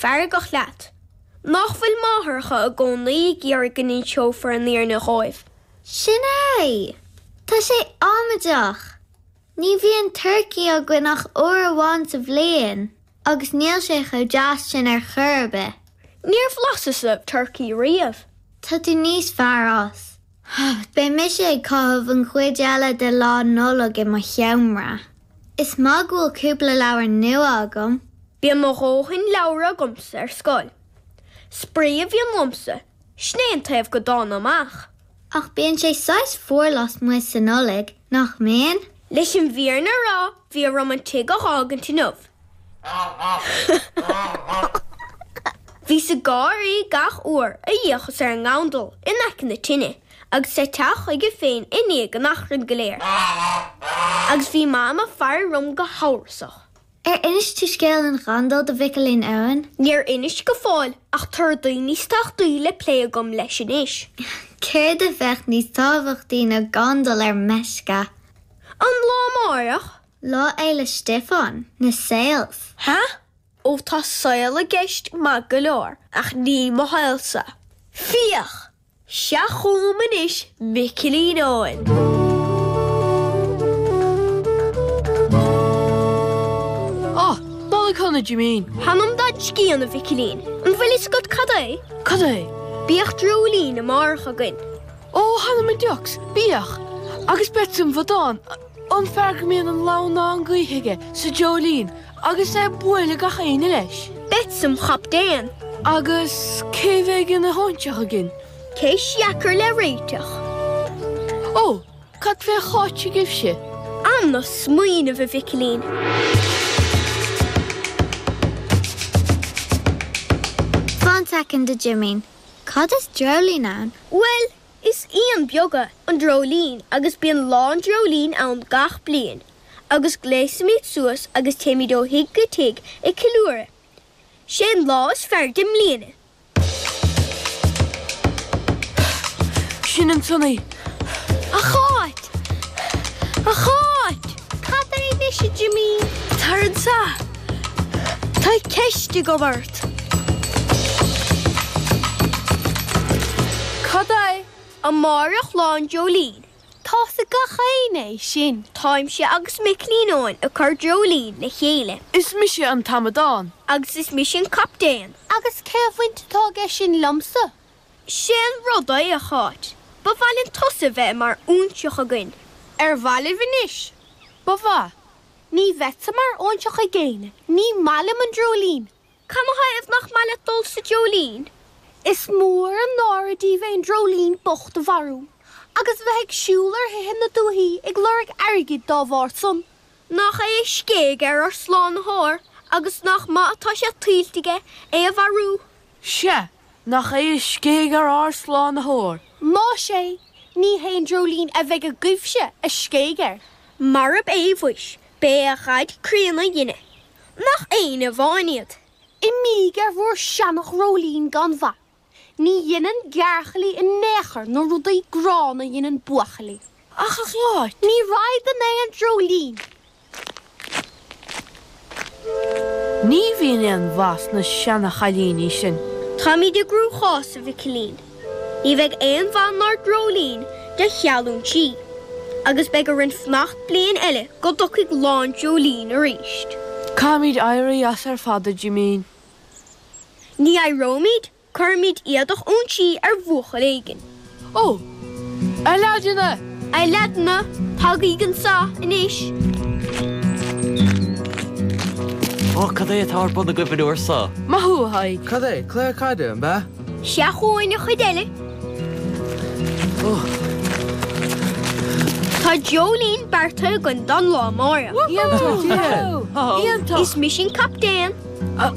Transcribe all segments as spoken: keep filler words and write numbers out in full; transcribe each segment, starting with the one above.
feargach leat. Nach bhfuil máithreacha i gcónaí ag iarraidh go n-inseofar an fhírinne dhóibh. Sin é! Tá sé amaideach! Ní bhíonn turcaí againn ach uair amháin sa bhliain, agus níl sé chomh deas sin ar chor ar bith. Níor bhlaiseas-sa turcaí riamh. Tá tú níos fearr as. Beidh mise ag caitheamh an chuid eile de lá Nollag i mo sheomra. Is maith go bhfuil cúpla leabhar nua agam. Bíonn mo dhóthain leabhar agamsa ar scoil. Spraoi a bhíonn liomsa, sin é an taobh go dtána amach. Ach bíonn sé saghas fuar lasmuigh sa Nollaig, nach mbíonn? Leis an bhfírinne a rá, bhí orm an tigh a fhágaint inniu. Bhíos ag gáirí gach uair a d'fhéachas ar an ngandal in aice na tine agus é ag teacht chuige féin i ndiaidh an achrainn go léir. Agus bhí Mam ag faire orm go hamhrasach. Ar inis tú scéal an ghandail do Mhicilín Eoin? Níor inis go fóill ach tá rudaí níos tábhachtaí le plé agam leis anois. Céard a bheadh níos tábhachtaí ná gandal ar meisce? An lá amárach? Lá Fhéile Stiofáin, na sales. Ha? Ó tá sale i gceist maith go leor ach ní mo shaolsa. Féach! Seo chugam anois Micilín Eoin. Ó, Nollaig Shona, Jimín! Th'anam dod scian, a Mhicilín. An bhfuil fhios agat cad é? Cad é? Bíodh dreoilín amárach againn. Ó, th'anam i dtiucs, bíodh! Agus beadsa im bhodán, an fear go mbíonn an lamhnán gaoithe aige sa dreoilín agus é ag bualadh gach éinne leis. Beadsa im chaptaen. Agus cé bheidh ina óinseach againn? Ceist dheacair le réiteach. Ó, cad fé Cháit agaibhse? Am do smaoineamh, a Mhicilín. Fan soicind, a Jimín. Cad is dreoilín ann? Bhuel, is éan beag é an dreoilín agus bíonn Lá an Dreoilín ann gach bliain agus gléasaimid suas agus téimid ó thigh go tigh ag ceiliúradh. Sé an lá is fearr den mbliain é. Sin an tSonaí. A Cháit! A Cháit! Cad é anois, a Jimín? Tar anso. Tá ceist agam ort. Cad é? Amárach Lá an Dreoilín. Tá's ag gach éinne é sin. Táimse agus Micilín Eoin ag cur dreoilín le chéile. Is mise an t-amadán. Agus is mise an captaen. Agus cén bhaint atá aige sin liomsa? Sé an rud é, a Cháit, ba mhaith linn tusa bheith mar óinseach againn. Ar mhaith libh anois? Ba mhaith. Ní bheadsa mar óinseach ag éinne, ní maith liom an dreoilín. Canathaobh nach maith leat dul sa dreoilín? Is mór an náire daoibh aon dreoilín bocht a mharú, agus a bheith ag siúl ar thithe na dúthaí ag lorg airgid dá bharr san. Nach é a scéigh ar ár Slánaitheoir agus nach maith atá sé tuillte aige é a mharú? Sea, nach é a scéigh ar ár Slánaitheoir. Más ea, ní hé an dreoilín a bheidh agaibhse a scéigh air. Marab é mhuis, b'é a dhaid críonna a dhein é. Nach éin amháin iad? Imíg ar bhur seana-dhreoilín gan mhaith. Ní dheineann gearrchailí in aon chor na rudaí gránna a dheineann buachaillí. Ach a Cháit! Ní raghad in aon dreoilín. Ní bhíonn aon mhaith sna seana-chailíní sin. Táimid i gcruachás, a Mhicilín. Ní bheidh aon mhaith inár ndreoilín de cheal óinsí, agus beidh orainn fanacht bliain eile go dtiocfaidh Lá an Dreoilín arís. Caithfimid éirí as ar fad, a Jimín. Ní éireoimid, cuirfimid éadach óinsí ar bhuachaill éigin. Ó! A leaideanna! A leaideanna, tagaigí anso anois! Ó, cad é atá ar bun agaibh an uair so? Maith thú, a Thaidhg! Cad é? Cluiche caide, an b'ea? Seo chugainn an chuid eile. Ó! Tá dreoilín beartaithe againn don lá amárach. Iontach! Iontach! Is mise an captaen.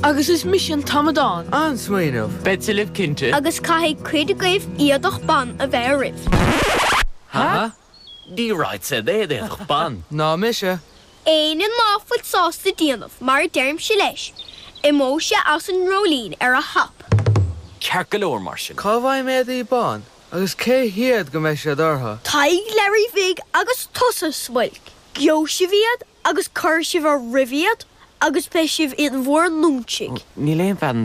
Agus is mise an t-amadán. An-smaoineamh. Beadsa libh cinnte. Agus caithfidh cuid agaibh éadach ban a bheith oraibh. Ha? Ní raghadsa in aon éadach ban. Ná mise. Éinne ná fuil sásta déanamh mar a deirimse leis, imeoidh sé as an ndreoilín ar a hap. Ceart go leor mar sin. Cá bhfaighim éadaí ban agus cé hiad go mbeidh siad orthu? Tadhg Learaí Bhig agus tusa, Smuilc. Gheobhaidh sibh iad agus cuirfidh sibh oraibh iad agus beidh sibh in bhur n-óinsigh. Níl aon bhean